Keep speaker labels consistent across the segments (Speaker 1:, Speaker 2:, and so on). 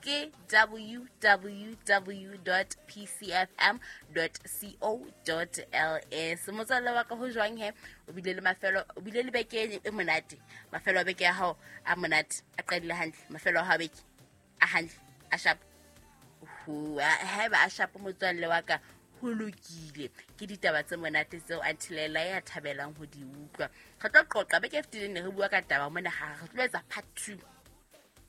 Speaker 1: Ke www pcfm co ls. Motswalle wa ka, ho jwang he? O bile le mafelo, o bile le beke e monate? Mafelo a beke ya hao a monate, a qadile hantle? Mafelo a hao a beke a hantle, a sharp? Haeba a sharp, motswalle wa ka, ho lokile. Ke ditaba tse monate tseo Antilela ya thabelang ho di utlwa. Re tlo qoqa beke e fetileng, ne re bua ka taba mona, ga re tlo etsa part two.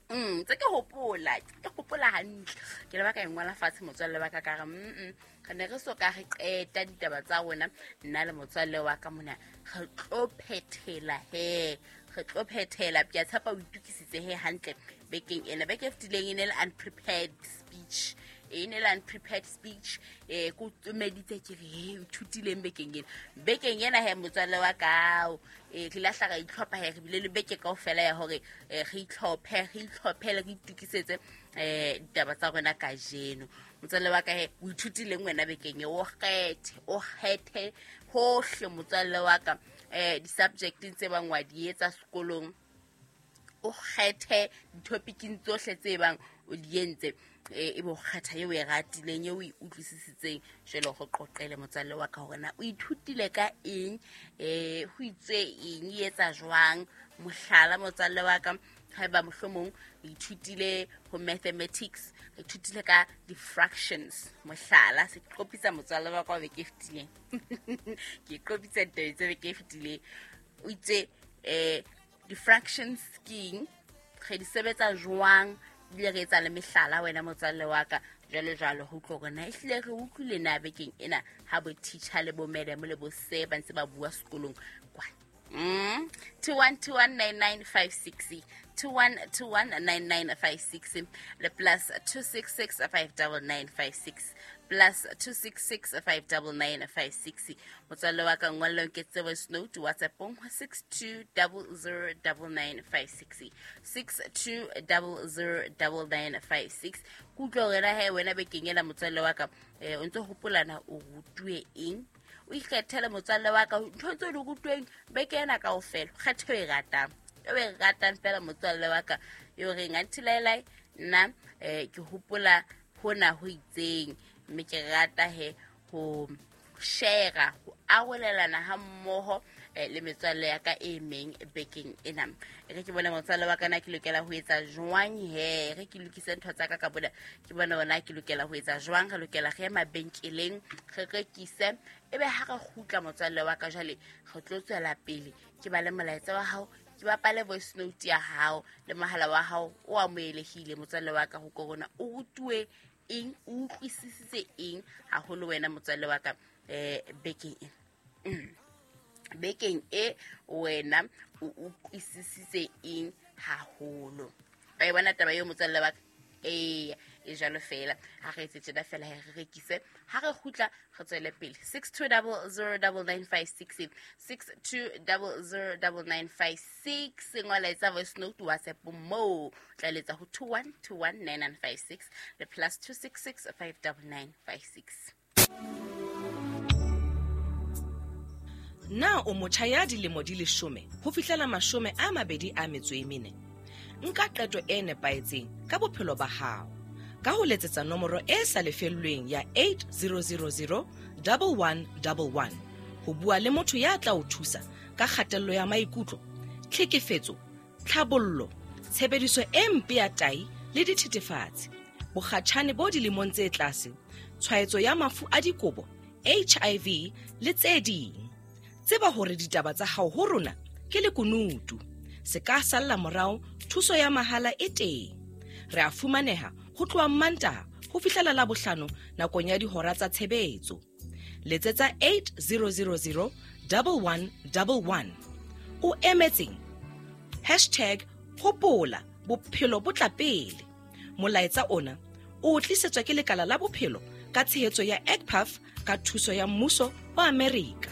Speaker 1: Tse ke hopola, ke hopola hantle, ke le ba ka e ngola fatshe, motswalle wa ka, ka re re ne re so ka re qeta ditaba tsa rona, nna le motswalle wa ka mona. Re tlo phethela he, re tlo phethela. Ke a tshepa o itukisitse he hantle bekeng ena. Beke e fetileng e ne le unprepared speech, e ne le unprepared speech. Ko tsomeditse, ke re he, o ithutileng bekeng ena? Bekeng ena he, motswalle wa kao, re lahla, ra itlhopha he. Re bile le beke kaofela ya hore re itlhophe, re itlhophele, re itukisetse ditaba tsa rona kajeno. Motswalle wa ka he, o ithutileng wena bekeng e? O kgethe, o kgethe hohle, motswalle wa ka, di-subjecteng tse bang wa di etsa sekolong. O kgethe ditopicing tsohle tse bang o di entse, e be o kgetha eo o e ratileng, eo o e utlwisisitseng. Jwale go qoqele, motswalle wa ka, hore na o ithutile ka eng, ho itswe eng, e etsa jwang. Mohlala, motswalle wa ka, haeba mohlomong o ithutile ho mathematics, re ithutile ka di-fractions, mohlala. Se ke qopitsa, motswalle wa ka, wa beke e fetileng. Ke qopitsa ditaba tse beke e fetileng. O itse di-fractions ke eng, re di sebetsa jwang, ebile re etsa le mehlala, wena motswalle wa ka, jwalo jwalo, ho utlwa hore na ehlile re utlwile na bekeng ena ha bo teacher le bo madam le bo se ba ntse ba bua sekolong kwana. 21219956, 21219956 le +266 59956, +266 59956. Motswalle wa ka, ngwallong ke tse voice note WhatsAppong 62009956, 62009956. Ke utlwa hore na he wena bekeng ena, motswalle wa ka, o ntse hopolana o rutuwe eng. O ikgethele, motswalle wa ka, ntho tse o di rutweng beke ena kaofela. Kgetho e ratang, e o e ratang fela, motswalle wa ka, e o reng, "Antilaelai, nna ke hopola hona ho itseng," mme ke rata he ho share, ho arolelana ha mmoho le metswalle ya ka e meng bekeng ena. E re ke bone, motswalle wa ka, na ke lokela ho etsa jwang he. Re ke lokise ntho tsa ka ka bona, ke bone ona ke lokela ho etsa jwang. Re lokela re ye mabenkeleng, re rekise, ebe ha re kgutla, motswalle wa ka, jwale re tlo tswela pele. Ke ba le molaetsa wa hao, ke bapale voice note ya hao, le mohala wa hao o amohelehile, motswalle wa ka, ho korona o rutuwe eng, o utlwisisitse eng haholo wena, motswalle wa ka, bekeng ena. Bekeng e wena o utlwisisitse eng haholo? Ba e bona taba eo, motswalle wa ka? Ee, e jalo fela. Ha re etse tjena fela, re rekise, ha re kgutla re tswele pele. 62009956, 62009956. Ngola, etsa voice note WhatsApp moo, tla letsa ho 21219956 le +266 59956.
Speaker 2: Na o motjha ya dilemo di 10 ho fihlela 24? Nka qeto e nepahetseng ka bophelo ba hao ka ho letsetsa nomoro e sa lefellweng ya 8000 1111 ho bua le motho ya tla o thusa ka kgatello ya maikutlo, tlhekefetso, tlhabollo, tshebediso e mpe ya tai le dithethefatsi, bokgatjhane bo dilemong tse tlase, tshwaetso ya mafu a dikobo, HIV le tse ding. Tseba hore ditaba tsa hao ho rona ke lekunutu, se ka salla morao. Thuso ya mahala e teng. Re a fumaneha ho tloha Mmantaha ho fihlela la Bohlano nakong ya dihora tsa tshebetso. Letsetsa 8000 1111. O emetseng? #Hopola, bophelo bo tla pele. Molaetsa ona o tlisetswa ke lekala la bophelo ka tshehetso ya EGPAF ka thuso ya mmuso wa Amerika.